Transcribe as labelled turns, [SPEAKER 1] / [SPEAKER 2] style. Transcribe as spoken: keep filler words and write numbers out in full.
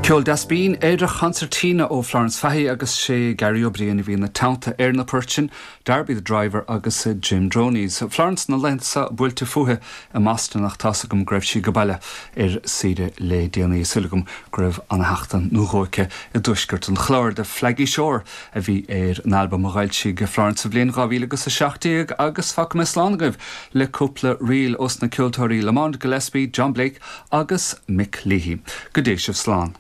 [SPEAKER 1] Ceol deas binn ar Concertina ó Florence Fahey agus sé Gary O'Brien a bhí ina teannta ar na poirt sin, Darby the Driver agus Jim Droney's. Florence na laethanta buailte fúithi i mBoston ach tá's agam go raibh sí go baile ar saoire le déanaí súil agam go raibh an-sheachtain nó dhó aici i dtuaisceart an Chláir The Flaggy Shore a bhí ar an albam a d'fhoilsigh Florence sa bhliain dhá mhíle agus a seacht déag agus fágfaidh mé slán agaibh le cúpla ríl ós na ceoltóirí Lamont Gillespie, John Blake agus Mick Leahy. Go dté sibh slán.